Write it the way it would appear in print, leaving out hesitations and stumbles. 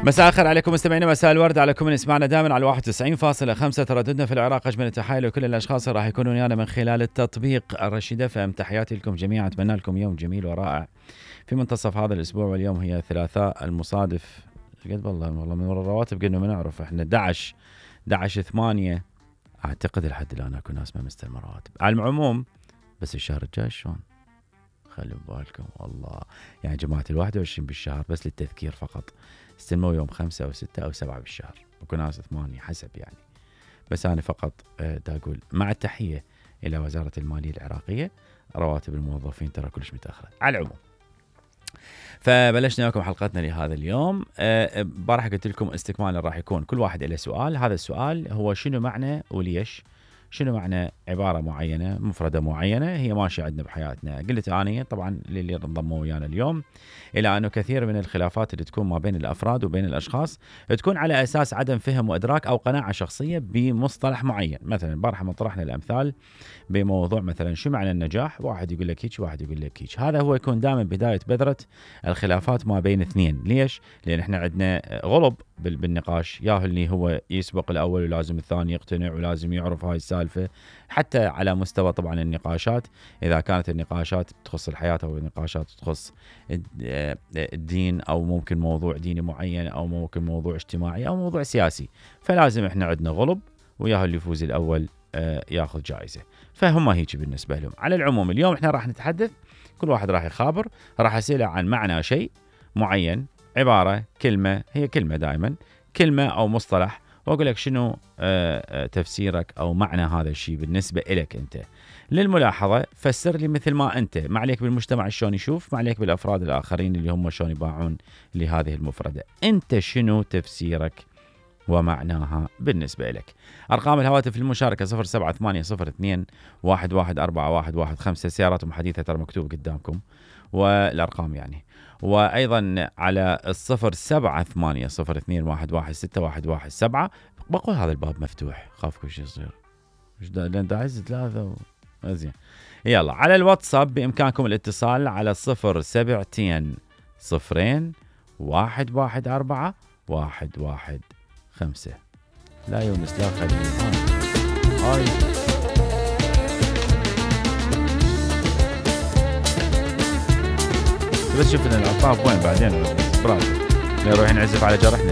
مساء الخير عليكم مستمعينا، مساء الورد على كل من يسمعنا دائما على 91.5 ترددنا في العراق. اجمل التحايل لكل الاشخاص اللي راح يكونوا ويانا من خلال التطبيق الرشيد اف ام. تحياتي لكم جميعا، اتمنى لكم يوم جميل ورائع في منتصف هذا الاسبوع، واليوم هي الثلاثاء المصادف قد والله من الرواتب قلنا ما نعرف احنا 11/8 اعتقد لحد الان اكو ناس ما مستلمه رواتب. على العموم بس الشهر الجاي شلون خلوا بالكم والله، يعني جماعه ال21 بالشهر بس للتذكير فقط استلموا يوم 5 أو 6 أو 7 بالشهر، وكو ناس 8 حسب يعني. بس أنا فقط دا أقول مع التحية إلى وزارة المالية العراقية، رواتب الموظفين ترى كلش متأخرة. على العموم فبلشنا لكم حلقتنا لهذا اليوم. بارح قلت لكم استكمالا راح يكون كل واحد له سؤال. هذا السؤال هو شنو معنى وليش، شنو معنى عبارة معينة مفردة معينة هي ماشية عندنا بحياتنا. قلت أنا طبعا للي انضموا ويانا اليوم إلى أنه كثير من الخلافات اللي تكون ما بين الأفراد وبين الأشخاص تكون على أساس عدم فهم وإدراك أو قناعة شخصية بمصطلح معين. مثلا بارح ما طرحنا الأمثال بموضوع مثلا شو معنى النجاح، واحد يقول لك هيك واحد يقول لك هيك. هذا هو يكون دائما بداية بذرة الخلافات ما بين اثنين. ليش؟ لأن احنا عندنا غلب بالنقاش، ياهو اللي هو يسبق الأول ولازم الثاني يقتنع ولازم يعرف هاي السالفة. حتى على مستوى طبعا النقاشات، إذا كانت النقاشات تخص الحياة أو النقاشات تخص الدين أو ممكن موضوع ديني معين أو ممكن موضوع اجتماعي أو موضوع سياسي، فلازم احنا عندنا غلب وياهو اللي يفوز الأول ياخذ جائزة. فهم هيك بالنسبة لهم. على العموم اليوم احنا راح نتحدث، كل واحد راح يخابر، راح أسأله عن معنى شيء معين، عبارة، كلمة، هي كلمة دائما، كلمة أو مصطلح، وأقول لك شنو تفسيرك أو معنى هذا الشيء بالنسبة إلك أنت. للملاحظة فسر لي مثل ما أنت، ما عليك بالمجتمع شلون يشوف، ما عليك بالأفراد الآخرين اللي هم شلون يباعون لهذه المفردة. أنت شنو تفسيرك ومعناها بالنسبة لك. أرقام الهواتف في المشاركة 0780211415. سياراتهم حديثة ترى مكتوب قدامكم والأرقام يعني. وأيضا على 0780211617. بقول هذا الباب مفتوح، خاف كل شيء يصير لأن داعز 3 زين. يلا على الواتساب بإمكانكم الاتصال على 0720114115. لا يونس لا خليل هاي بس شوف الألطاف وين بعدين برافو نروح نعزف على جرحنا.